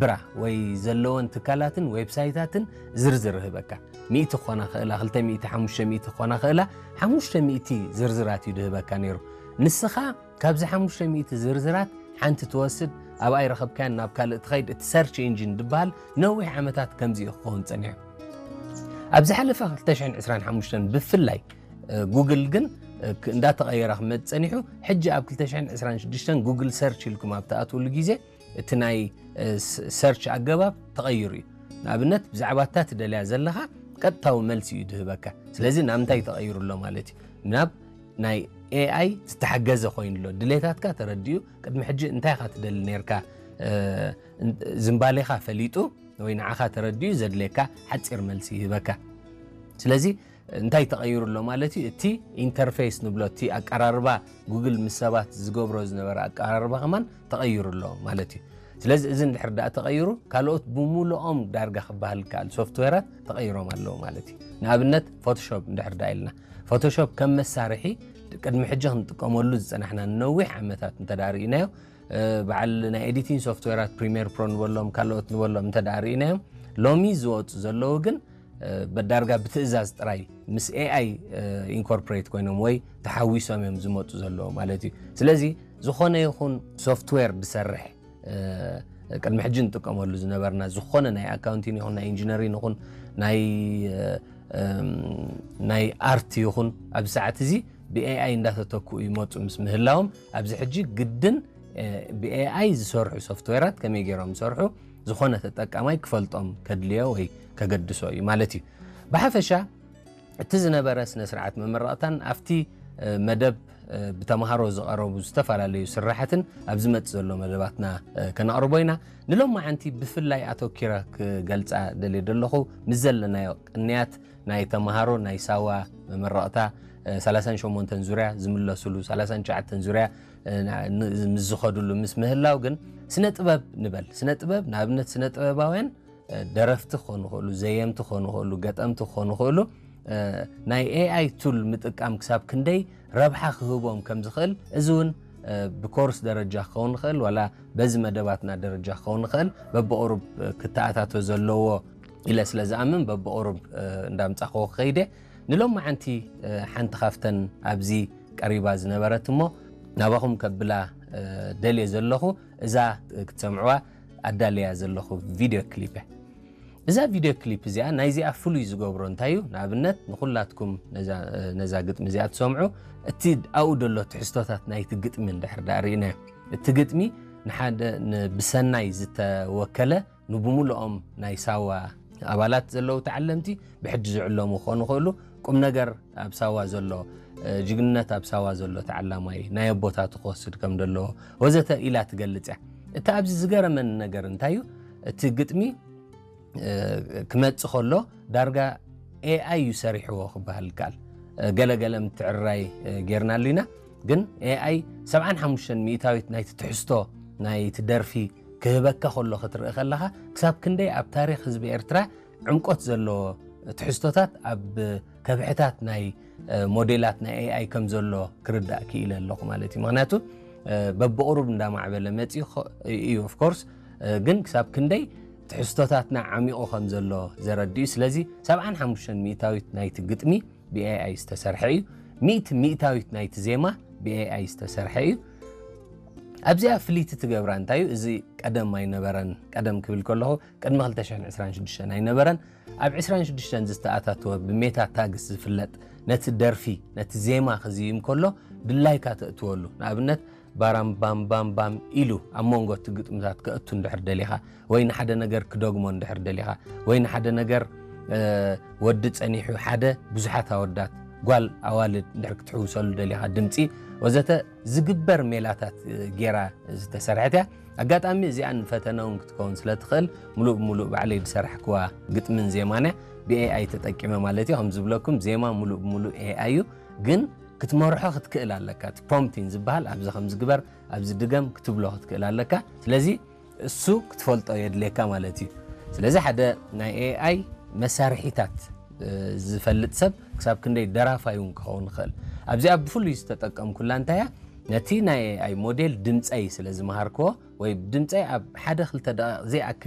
ብራ ወይ ዘለወን ትካላትን ዌብሳይታትን ዝርዝር ህበካ። ሚእቲ ክኾና ክእላ፣ ክልተ ሚእቲ፣ ሓሙሽተ ሚእቲ ክኾና ክእላ፣ ሓሙሽተ ሚእቲ ዝርዝራት እዩ ድህበካ ነይሩ። ንስኻ ካብዚ ሓሙሽተ ሚእቲ ዝርዝራት ሓንቲ ትወስድ፣ ኣብኣ ይረኸብካያን ናብ ካልእ ትኸይድ። እቲ ሰርች ኢንጂን ዝበሃል ነዊሕ ዓመታት ከምዚ እዩ ክኸውን ጸኒሑ። ኣብ ዝሓለፈ ክልተ ሽሕን ዕስራን ሓሙሽተን ብፍላይ ጉግል ግን እንዳተቐየረ ክመጽእ ጸኒሑ። ሕጂ ኣብ ክልተ ሽሕን ዕስራን ሽዱሽተን ጉግል ሰርች ኢልኩም ኣብ ትኣትውሉ ግዜ እቲ ናይ ሰርች ኣገባብ ተቐይሩ እዩ። ንኣብነት ብዛዕባ እታ ትደልያ ዘለኻ ቀጥታዊ መልሲ እዩ ድህበካ። ስለዚ ናብ እንታይ ተቐይሩ ኣሎ ማለት እዩ? ናብ ናይ ኤኣይ ዝተሓገዘ ኮይኑ ኣሎ። ድሌታትካ ተረዲኡ፣ ቅድሚ ሕጂ እንታይ ኢኻ ትደሊ ነርካ ዝምባሌኻ ፈሊጡ ወይ ንዓኻ ተረዲኡ ዘድልየካ ሓፂር መልሲ ይህበካ። ስለዚ እንታይ ተቐይሩ ኣሎ ማለት እዩ? እቲ ኢንተርፌስ ንብሎ፣ እቲ ኣቀራርባ ጉግል ምስ ሰባት ዝገብሮ ዝነበረ ኣቀራርባ ከማን ተቐይሩ ኣሎ ማለት እዩ። ስለዚ እዚ እንድሕር ደኣ ተቐይሩ፣ ካልኦት ብምሉኦም ዳርጋ ክበሃል ይከኣል ሶፍትዌራት ተቐይሮም ኣለዉ ማለት እዩ። ንኣብነት ፎቶሾፕ እንድሕር ደኣ ኢልና፣ ፎቶሾፕ ከም መሳርሒ ቅድሚ ሕጂ ክንጥቀመሉ ዝጸናሕና ንነዊሕ ዓመታት እንተ ደኣ ርኢናዮ፣ በዓል ናይ ኤዲቲንግ ሶፍትዌራት ፕሪሚየር ፕሮ ንበሎም ካልኦት ንበሎም እንተ ደኣ ርኢናዮም፣ ሎሚ ዝወፁ ዘለዉ ግን በዳርጋ ብትእዛዝ ጥራይ ምስ ኤኣይ ኢንኮርፖሬት ኮይኖም ወይ ተሓዊሶም እዮም ዝመፁ ዘለዉ ማለት እዩ። ስለዚ ዝኾነ ይኹን ሶፍትዌር ድሰርሕ፣ ቅድሚ ሕጂ ንጥቀመሉ ዝነበርና ዝኾነ ናይ ኣካውንቲን ይኹን ናይ ኢንጂነሪን ይኹን ናይ ናይ ኣርት ይኹን ኣብዚ ሰዓት እዚ ብኤኣይ እንዳተተክኡ ይመፁ ምስ ምህላዎም፣ ኣብዚ ሕጂ ግድን ብኤኣይ ዝሰርሑ ሶፍትዌራት ከመይ ገይሮም ዝሰርሑ ዝኾነ ተጠቃማይ ክፈልጦም ከድልዮ ወይ ከገድሶ እዩ ማለት እዩ። ብሓፈሻ እቲ ዝነበረ ስነ ስርዓት መመረቕታን ኣብቲ መደብ ብተምሃሮ ዝቐረቡ ዝተፈላለዩ ስራሓትን ኣብ ዝመጽእ ዘሎ መደባትና ከነቕርቦ ኢና። ንሎማዓንቲ ብፍላይ ኣተኪረ ክገልጻ ደልየ ዘለኹ ምስ ዘለናዮ ቅንያት ናይ ተምሃሮ ናይ ሳዋ መመረቕታ ሰላሳን ሸሞንተን ዙርያ ዝምለሱሉ፣ ሰላሳን ትሽዓተን ዙርያ ምስ ዝኸድሉ ምስ ምህላው ግን ስነ ጥበብ ንበል። ስነ ጥበብ ንኣብነት ስነ ጥበባውያን ደረፍቲ ክኾኑ ይኽእሉ፣ ዘየምቲ ክኾኑ ይኽእሉ፣ ገጠምቲ ክኾኑ ይኽእሉ። ናይ ኤኣይ ቱል ምጥቃም ክሳብ ክንደይ ረብሓ ክህቦም ከም ዝኽእል፣ እዚ እውን ብኮርስ ደረጃ ክኸውን ይኽእል፣ ዋላ በዚ መደባትና ደረጃ ክኸውን ይኽእል፣ በብቑሩብ ክተኣታቶ ዘለዎ ኢለ ስለ ዝኣምን በብቑሩብ እንዳምጻኽዎ ክኸይደ። ንሎማዓንቲ ሓንቲ ካብተን ኣብዚ ቀሪባ ዝነበረት እሞ ናባኹም ከብላ ደልየ ዘለኹ እዛ ክትሰምዕዋ ኣዳልያ ዘለኹ ቪድዮ ክሊፕ እያ። እዛ ቪድዮ ክሊፕ እዚኣ ናይዚኣ ፍሉይ ዝገብሮ እንታይ እዩ? ንኣብነት ንኹላትኩም ነዛ ግጥሚ እዚኣ ትሰምዑ፣ እቲ ኣብኡ ዘሎ ትሕዝቶታት ናይቲ ግጥሚ እንድሕር ደኣ ርኢናዮ፣ እቲ ግጥሚ ንሓደ ብሰናይ ዝተወከለ ንብሙሉኦም ናይ ሳዋ ኣባላት ዘለዉ ተዓለምቲ ብሕጂ ዝዕለሙ ክኾኑ ይኽእሉ። ቁም ነገር ኣብ ሳዋ ዘሎ፣ ጅግንነት ኣብ ሳዋ ዘሎ ተዓላማይ፣ ናይ ኣቦታቱ ክወስድ ከም ዘለዎ ወዘተ ኢላ ትገልጽ እያ። እቲ ኣብዚ ዝገረመኒ ነገር እንታይ እዩ? እቲ ግጥሚ ክመጽእ ከሎ ዳርጋ ኤኣይ እዩ ሰሪሕዎ ክበሃል ይከኣል። ገለገለ ምትዕርራይ ጌርናሉ ኢና፣ ግን ኤኣይ ሰብዓን ሓሙሽተን ሚእታዊት ናይቲ ትሕዝቶ ናይቲ ደርፊ ክህበካ ከሎ ክትርኢ ከለኻ ክሳብ ክንደይ ኣብ ታሪኽ ህዝቢ ኤርትራ ዕምቆት ዘለዎ ትሕዝቶታት ኣብ ከብሕታት ናይ ሞዴላት ናይ ኤኣይ ከም ዘሎ ክርዳእ ክኢለ ኣለኹ ማለት እዩ። ምክንያቱ በብቕሩብ እንዳማዕበለ መፂኡ እዩ ኦፍኮርስ፣ ግን ክሳብ ክንደይ ትሕዝቶታትና ዓሚቑ ከም ዘሎ ዘረድእ እዩ። ስለዚ ሰብዓን ሓሙሽተን ሚእታዊት ናይቲ ግጥሚ ብኤኣይ ዝተሰርሐ እዩ። ሚእቲ ሚእታዊት ናይቲ ዜማ ብኤኣይ ዝተሰርሐ እዩ። ኣብዚኣ ፍልይቲ ትገብራ እንታይ እዩ? እዚ ቀደም ኣይነበረን። ቀደም ክብል ከለኹ ቅድሚ ክልተ ሽሕን ዕስራን ሽዱሽተን ኣይነበረን። ኣብ ዕስራን ሽዱሽተን ዝተኣታተወ ብሜታ ታግስ ዝፍለጥ ነቲ ደርፊ ነቲ ዜማ ክዝይም ከሎ ድላይካ ተእትወሉ። ንኣብነት ባራም ባም ባም ባም ኢሉ ኣብ መንጎ እቲ ግጥምታት ከእቱ እንድሕር ደሊኻ ወይ ንሓደ ነገር ክደግሞ እንድሕር ደሊኻ ወይ ንሓደ ነገር ወዲ ጸኒሑ ሓደ ብዙሓት ኣወዳት ጓል ኣዋልድ እንድሕር ክትሕውሰሉ ደሊኻ ድምፂ ወዘተ ዝግበር ሜላታት ጌራ ዝተሰርሐት እያ። ኣጋጣሚ እዚኣ ንፈተነ እውን ክትከውን ስለ ትኽእል ሙሉእ ብሙሉእ ባዕለይ ዝሰራሕክዋ ግጥምን ዜማን እያ። ብኤኣይ ተጠቂመ ማለት እዩ። ከም ዝብለኩም ዜማ ሙሉእ ብሙሉእ ኤኣይ እዩ፣ ግን ክትመርሖ ክትክእል ኣለካ። እቲ ፕሮምፕቲንግ ዝበሃል ኣብዚ ከም ዝግበር ኣብዚ ድገም ክትብሎ ክትክእል ኣለካ። ስለዚ እሱ ክትፈልጦ የድልየካ ማለት እዩ። ስለዚ ሓደ ናይ ኤኣይ መሳርሒታት ዝፈልጥ ሰብ ክሳብ ክንደይ ደራፋይ እውን ክኸውን ይኽእል። ኣብዚኣ ብፍሉይ ዝተጠቀምኩላ እንታይ እያ? ነቲ ናይ ኤኣይ ሞዴል ድምፀይ ስለ ዝመሃርክዎ ወይ ድምፀይ ኣብ ሓደ ክልተ ደቂቕ ዘይኣክል